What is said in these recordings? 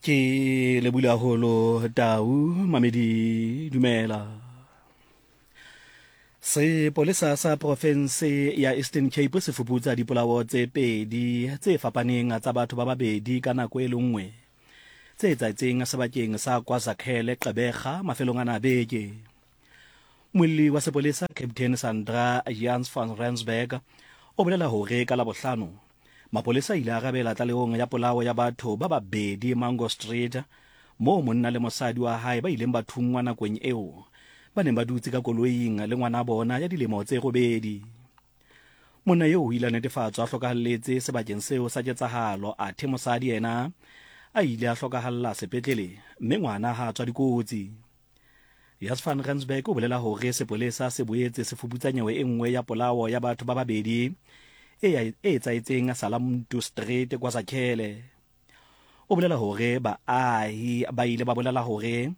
Ke lebule haholo Tau Mamedi dumela. Sepolesa sa profense ya Eastern Cape se fuputsa dipolao tse pedi tse fapaneng tsa batho ba babedi ka nako e le nngwe tse etsahetseng sebakeng sa KwaZakhele Gqeberha mafelong ana a beke. Molli wa sepolesa Captain Sandra Jans van Rensburg o bolela hore ka Labohlano Mapolesa a ile a arabela tlalehong ya polao ya batho ba babedi Mango Street, moo monna le mosadi wa hae ba ileng ba thunngwa nakong eo ba neng ba dutse ka koloing le ngwana bona ya dilemo tse robedi. Monna eo o ile a netefatswa a hlokahalletse sebakeng seo sa ketsahalo athe mosadi yena a ile a hlokahalla sepetlele mme ngwana ha a tswa dikotsi. Jas van Rensburg o bolela hore sepolesa se boetse se fuputsa nyewe e nngwe ya polao ya batho ba babedi e etsahetseng Salamntu Street KwaZakhele. O bolela hore baahi ba ile ba bolela hore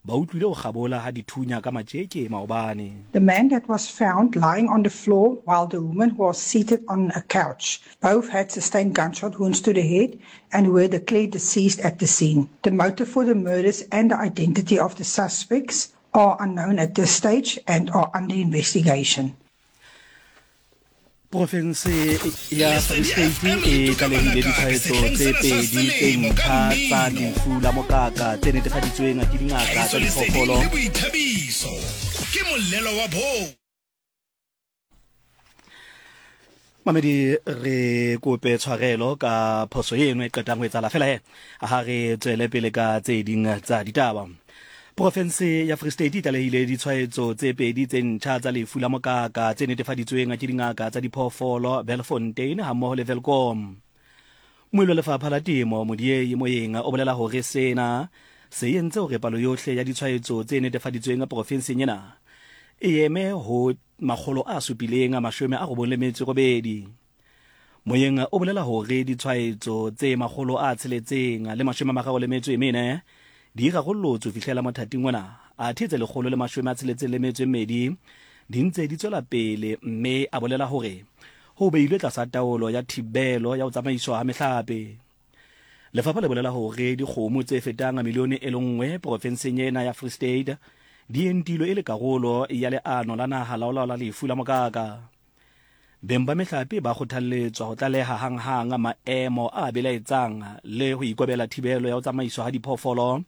ba utlwile ho kgabola ha dithunya ka matjeke maobane. The man that was found lying on the floor while the woman was seated on a couch. Both had sustained gunshot wounds to the head and were declared deceased at the scene. The motive for the murders and the identity of the suspects are unknown at this stage and are under investigation. Profense ya Free State e tlalehile ditshwaetso tse pedi tse ntjha tsa lefu la mokaka tse netefaditsweng ke dingaka tsa diphoofolo. Ke mollelo wa bo. Mamedi re kope tshwarelo ka phoso eno e qetang ho etsahala fela he ha re tswele pele ka tse ding tsa ditaba. Profense ya Free State e tlalehile ditshwaetso tse pedi tse ntjha tsa lefu la mokaka tse netefaditsweng ke dingaka tsa diphoofolo Belfontein hammoho le Welkom. Moelo lefapha la temo Modiei Moeng o bolela hore sena se entse hore palo yohle ya ditshwaetso tse netefaditsweng profenseng ena e eme ho 798. Moyeng o bolela hore ditshwaetso tse 634 di rarollotswe ho fihlela mothating ona, athe tse 162 di ntse di tswela pele mme a bolela hore ho beilwe tlasa taolo ya thibelo ya ho tsamaiswa ha mehlape. Lefapha le bolela hore dikgomo tse fetang milione e le nngwe porofenseng ena ya Free State di entilwe e le karolo ya leano la naha la ho laola lefu la mokaka. Beng ba mehlape ba kgothalletswa ho tlaleha hanghang maemo a belaetsang le ho ikobela thibelo ya ho tsamaiswa ha diphoofolo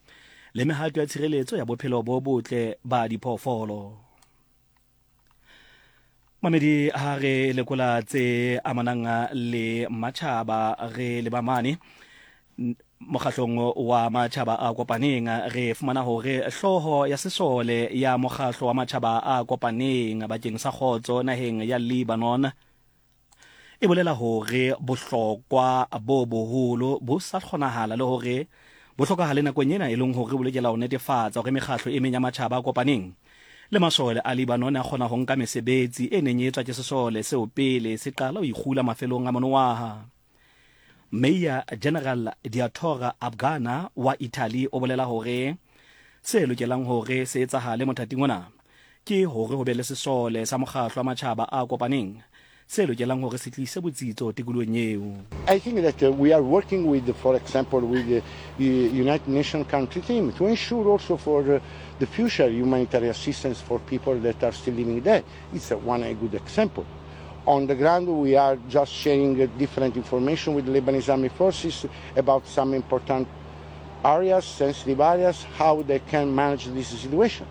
le mehato ya tshireletso ya bophelo bo botle ba diphoofolo. Mamedi ha re lekola tse amanang le matjhaba re leba mane mokgahlong wa matjhaba a kopaneng re fumana hore hlooho ya sesole ya mokgahlo wa matjhaba a kopaneng bakeng sa kgotso naheng ya Lebanon e bolela hore bohlokwa bo boholo bo sa kgonahala le hore bo hlokahale nakong ena e leng hore bo lokela ho netefatsa hore mekgahlo e meng ya matjhaba a kopaneng le masole a Lebanon a kgona ho nka mesebetsi e neng e etswa ke sesole seo pele se qala ho ikgula mafelong a monongwaha. Mayor General Diatora Abgana wa Italy o bolela hore se lokelang hore se etsahale mothating ona ke hore ho be le sesole sa mokgahlo wa matjhaba a kopaneng se lokelang hore se tlise botsitso tikolohong eo. I think that we are working with, for example, with the United Nations country team to ensure also for the future humanitarian assistance for people that are still living there. It's one a good example. On the ground, we are just sharing different information with Lebanese Army forces about some important areas, sensitive areas, how they can manage this situation.